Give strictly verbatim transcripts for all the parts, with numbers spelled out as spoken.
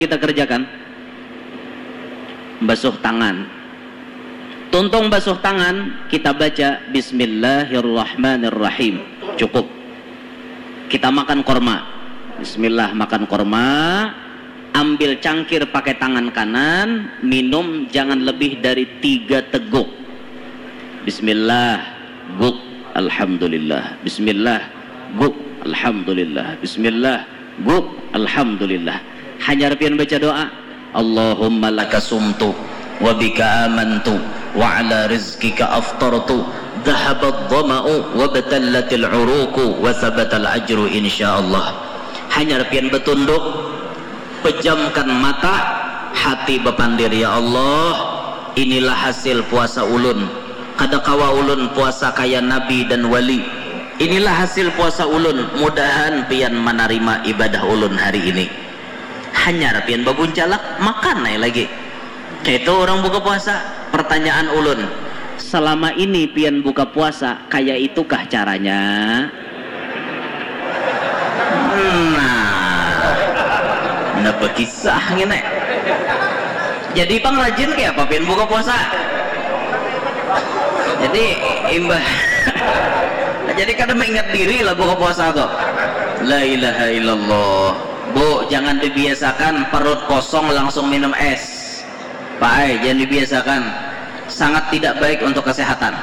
kita kerjakan? Basuh tangan. Tuntung basuh tangan, kita baca Bismillahirrahmanirrahim. Cukup. Kita makan korma. Bismillah, makan korma. Ambil cangkir pakai tangan kanan, minum jangan lebih dari tiga teguk. Bismillah, guk, alhamdulillah. Bismillah, guk, alhamdulillah. Bismillah, guk, alhamdulillah. Hanyar pian baca doa, Allahumma laka sumtu, wa bika amantu, wa ala rizqika aftartu, dhahabad dhama'u, wa batallatil uruku, wa sabatal ajru insyaallah. Hanyar pian batunduk, pejamkan mata, hati bapandir, ya Allah, inilah hasil puasa ulun. Kada kawa ulun puasa kaya nabi dan wali. Inilah hasil puasa ulun, mudahan pian manarima ibadah ulun hari ini. Hanyar pian babuncalak, makan ai lagi. Kaitu urang buka puasa. Pertanyaan ulun, selama ini pian buka puasa, kaya itukah caranya? Nah, napa kisah ngini? Jadi pang rajin kaya apa pian buka puasa? Jadi imbah jadi kada maingat diri lah buka puasa tu. La ilaha illallah. Bu, jangan dibiasakan perut kosong langsung minum es. Pak ai, jangan dibiasakan. Sangat tidak baik untuk kesehatan.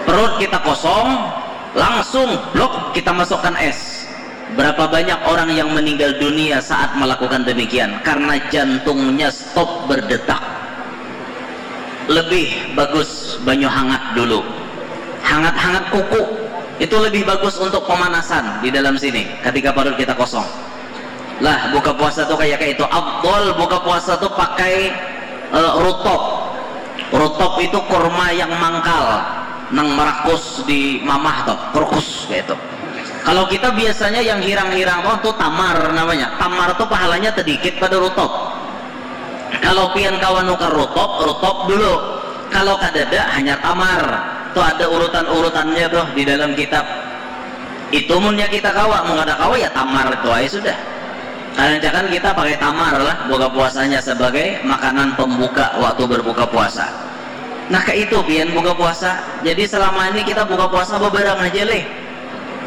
Perut kita kosong, langsung blok kita masukkan es. Berapa banyak orang yang meninggal dunia saat melakukan demikian karena jantungnya stop berdetak. Lebih bagus banyu hangat dulu. Hangat-hangat kuku. Itu lebih bagus untuk pemanasan di dalam sini ketika perut kita kosong. Lah, buka puasa tu kaya kaitu. Afdol buka puasa tu pakai, eh, rutop. Rutop itu kurma yang mangkal, nang marakus di mamah tu, krukus kaitu. Kalau kita biasanya yang hirang-hirang tu, tu tamar namanya. Tamar tu pahalanya tedikit pada rutop. Kalau pian kawa nukar rutop, rutop dulu. Kalau kadada, hanyar tamar. Tu ada urutan-urutannya tuh di dalam kitab. Itu munnya kita kawa, mun kada kawa ya tamar tu ai sudah. Karancakkan kita pakai tamar lah buka puasanya sebagai makanan pembuka waktu berbuka puasa. Nah, kaitu pian buka puasa. Jadi selama ini kita buka puasa bebarang aja leh.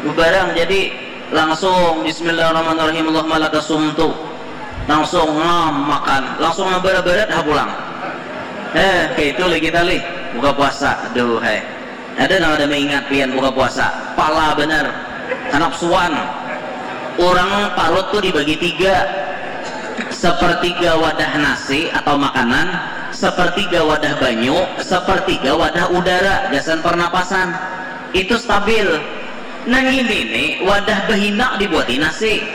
Bebarang, jadi langsung Bismillahirrahmanirrahim, Allahumma laka sumtu. Langsung ngam makan, langsung ngabarat-barat ha pulang. Eh, kaitu lagi tali buka puasa. Aduh hai. Ada nang ada maingat pian buka puasa? Pala benar. Kanapsuan. Urang parut tu dibagi tiga. Sepertiga wadah nasi atau makanan, sepertiga wadah banyu, sepertiga wadah udara, gasan pernapasan. Itu stabil. Nang ini nih wadah behinak dibuati nasi.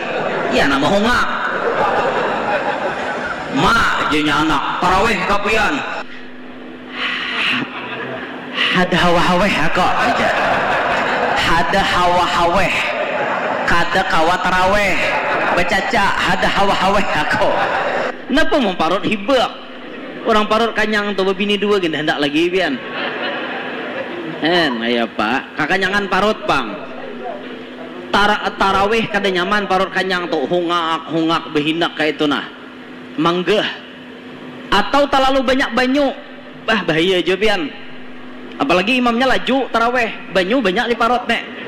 Ya nama hungak. Ma, jenya anak, taraweh kapian. Had hawa haweh aku aja. Had hawa haweh. Kada kawa taraweh. Becaca, had hawa haweh aku. Napa memparut hibak? Orang parut kanyang tu babini dua gin hendak lagi pian. Hen, ya pak, kakanyangan parut pang. Tara, taraweh kada nyaman parut kanyang tu, hungak hungak behinak kaitu nah. Manggeh. Atau talalu banyak banyu. Bah, bahaya jua pian. Apalagi imamnya laju taraweh, banyu banyak di parut nek.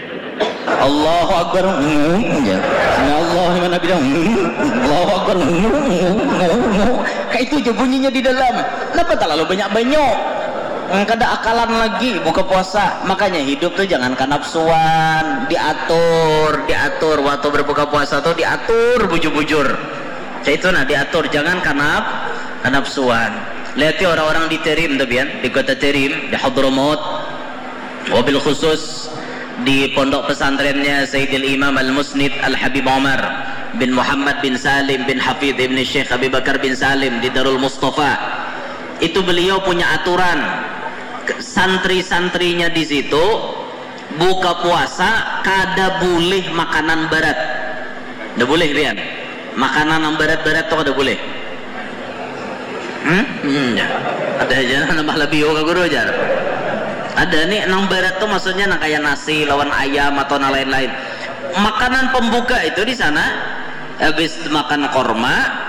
Allahu Akbar. Hmm, ya. Sami Allahu liman hamidah. Hmm, Allahu Akbar. Hmm, hmm, hmm, hmm. Kaitu ja bunyinya di dalam. Napa talalu banyak banyu? Hmm, kada akalan lagi buka puasa. Makanya hidup tu jangan kanapsuan, diatur, diatur. Waktu berbuka puasa tu diatur bujur-bujur. Kaitu nah, diatur, jangan kanap, kanapsuan. Lihati orang-orang di Terim tu pian, di kota Terim, di Hadramaut, wabil khusus di pondok pesantrennya Sayyidil Imam Al-Musnid Al-Habib Umar bin Muhammad bin Salim bin Hafidh ibni Syekh Abi Bakar bin Salim di Darul Mustafa. Itu beliau punya aturan, ke-, santri-santrinya di situ buka puasa kada bulih makanan barat. Kada bulih pian. Makanan nang barat-barat tu kada bulih. Hmm? Hmm, ya. Ada aja nambah labiu ka guru jar. Ada nih nang barat tu maksudnya nang kaya nasi lawan ayam atau nang lain-lain. Makanan pembuka itu di sana habis makan korma,